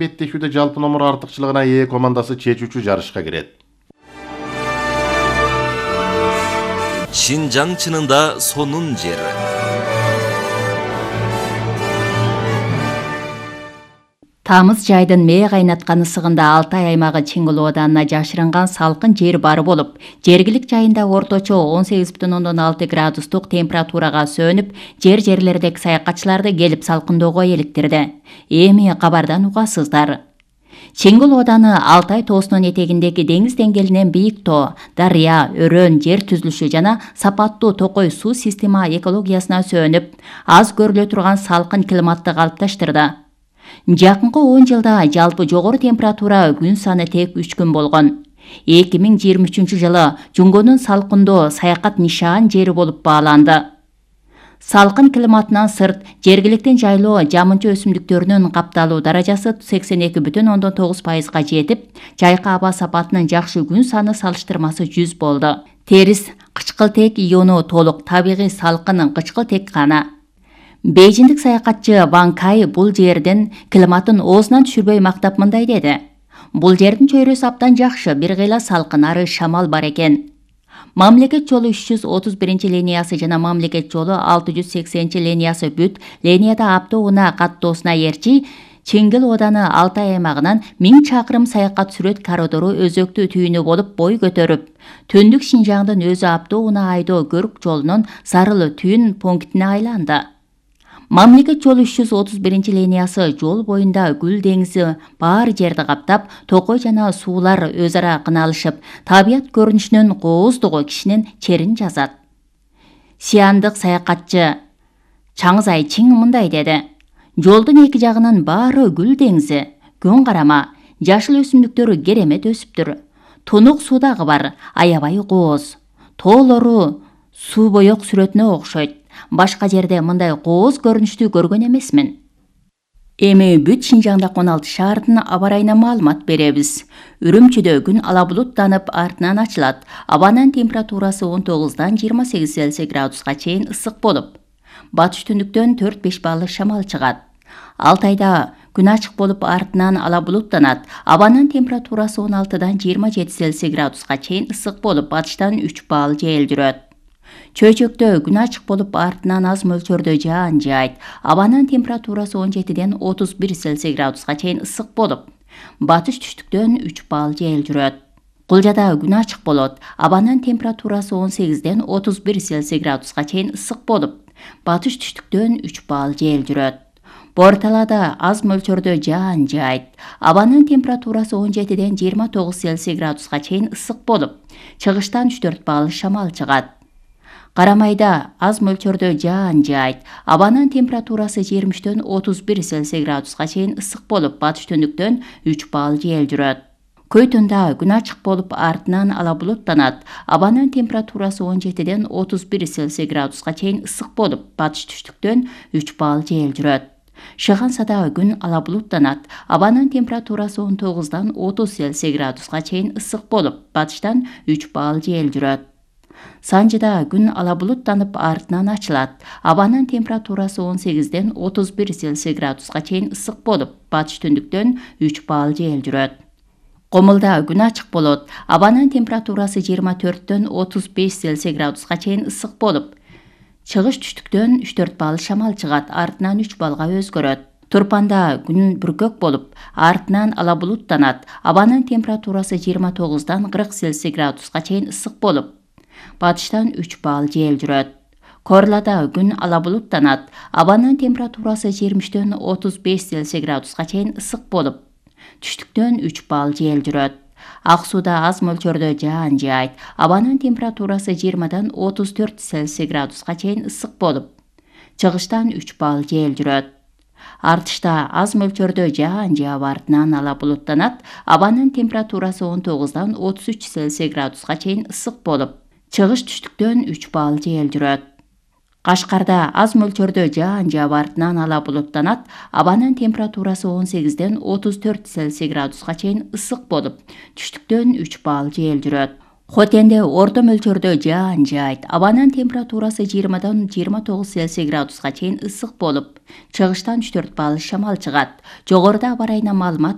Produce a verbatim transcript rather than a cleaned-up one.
Беттешүүдө жалпы номер артыкчылыгына ээ командасы чечүүчү жарышка кирет. Шинжаң чынында сонун жери. Тамыз жайдын мээ кайнаткан ысыгында Алтай аймагы Чиңгыл ооданына жашырынган салкын жер бар болуп, жергилик жайында орточо он сегиз бүтүн ондон алты градустук температурага сөнүп, жер-жерлердеги саякатчыларды келип салкындоого эликтирди. Эми кабардан угасыздар. Чиңгыл ооданы Алтай тоосунун этегиндеги деңиз деңгээлинен бийик тоо, дарыя, өрөөн жер түзүлүшү жана сапаттуу токой суу система экологиясына сөнүп, аз көрүлө турган салкын климатты калыпташтырды. Жакынкы он жылда жалпы жогору температура күн саны тек үч күн болгон. эки миң жыйырма үчүнчү жылы Жунгонун салкындоо саякат нишан жери болуп бааланды. Салкын климатынан сырт, жергиликтин жайлоо жамынча өсүмдүктөрүнүн капталуу даражасы сексен эки бүтүн ондон тогуз пайызга жетип, жайкы аба сапатынын жакшы күн саны салыштырмасы жүз болду. Терис кычкылтек иону толук табигый салкын кычкылтек гана. Бейжиндик саякатчы Ван Кай бул жердин климатын оозунан түшүрбөй мактап мындай деди. Бул жердин чөйрөсү абдан жакшы, бир кыйла салкын, ары шамал бар экен. Мамлекет жолу үч жүз отуз биринчи линиясы жана мамлекет жолу алты жүз сексенинчи линиясы бүт линияда автоунаа каттоосуна ээрчи Чиңгил ооданы Алтай аймагынан миң чакырым саякат сүрөт коридору өзөктүү түйүнү болуп бой көтөрүп, түндүк Шинжаңдын өзү автоунаа айдоо көрк жолунун зарыл түйүн пунктине айланды. Мамлекет жолу үч жүз отуз биринчи линиясы жол боюнда гүл деңизи бар жерди каптап, токой жана суулар өз ара кыналышып, табият көрүнүшүнүн кооздугу кишинин черин жазат. Сиандык саякатчы Чаңызай Чиң мындай деди. Жолдун эки жагынын баары гүл деңизи, күн карама, жашыл өсүмдүктөр керемет өсүптүр. Тунук суу дагы бар, аябай кооз. Тоолору суу боек сүрөтүнө окшойт. Башка жерде мындай кооз көрүнүштү көргөн эмесмин. Эми бүт Шинжаңдагы он алты шаардын аба ырайына маалымат беребиз. Үрүмчүдө күн ала булуттанып, артынан ачылат. Абанын температурасы он тогуздан жыйырма сегиз Цельсий градуска чейин ысык болуп, батыш түндүктөн төрт беш баллык шамал чыгат. Алтайда күн ачык болуп, артынан ала булуттанат. Абанын температурасы он алтыдан жыйырма жети Цельсий градуска чейин ысык болуп, батыштан үч балл жел жүрөт. Чөйчөктө күн ачык болуп, артынан аз мөлчөрдө жаан жаайт. Абанын температурасы он жетиден отуз бир Цельсий градуска чейин ысык болуп, батыш түштүктөн үч балл жел жүрөт. Кулжада күн ачык болот. Абанын температурасы он сегизден отуз бир Цельсий градуска чейин ысык болуп, батыш түштүктөн үч балл жел жүрөт. Борталада аз мөлчөрдө жаан жаайт. Абанын температурасы он жетиден жыйырма тогуз Цельсий градуска чейин ысык болуп, чыгыштан үч төрт балл шамал чыгат. Карамайда аз мөлчөрдө жаан жаайт. Абанын температурасы жыйырма үчтөн отуз бир Цельсий градуска чейин ысык болуп, батыш түндүктөн үч балл жел жүрөт. Көйтүндө күн ачык болуп, артынан ала булуттанат. Абанын температурасы он жетиден отуз бир Цельсий градуска чейин ысык болуп, батыш түштүктөн үч балл жел жүрөт. Шыгансада күн ала булуттанат. Абанын температурасы он тогуздан отуз Цельсий градуска чейин ысык болуп, батыштан үч балл жел жүрөт. Санжыда күн ала булуттанып, артынан ачылат. Абанын температурасы он сегизден отуз бир Цельсий градуска чейин ысык болуп, батыш түндүктөн үч балл жел жүрөт. Комулда күн ачык болот. Абанын температурасы жыйырма төрттөн отуз беш Цельсий градуска чейин ысык болуп, чыгыш түштүктөн үч төрт балл шамал чыгат, артынан үч баллга өзгөрөт. Турпанда күн бүркөк болуп, артынан ала булуттанат. Абанын температурасы жыйырма тогуздан кырк Цельсий градуска чейин ысык болуп, батыштан үч балл жел жүрөт. Корлада күн ала булуттанат. Абанын температурасы жыйырма үчтөн отуз беш Цельсий градуска чейин ысык болуп, түштүктөн үч балл жел жүрөт. Ак сууда аз мөлчөрдө жаан жаайт. Абанын температурасы жыйырмадан отуз төрт Цельсий градуска чейин ысык болуп, чыгыштан үч балл жел жүрөт. Артышта аз мөлчөрдө жаан жаап, артынан ала булуттанат. Абанын температурасы он тогуздан отуз үч Цельсий градуска чейин ысык болуп, чыгыш түштүктөн үч балл жел жүрөт. Кашкарда аз мөлчөрдө жаан жаап, артынан ала булуттанат. Абанын температурасы он сегизден отуз төрт Цельсий градуска чейин ысык болуп, түштүктөн үч балл жел жүрөт. Хотенде орто мөлчөрдө жаан жайт. Абанын температурасы жыйырмадан жыйырма тогуз Цельсий градуска чейин ысык болуп, чыгыштан үч төрт балл шамал чыгат. Жогоруда аба ырайына маалымат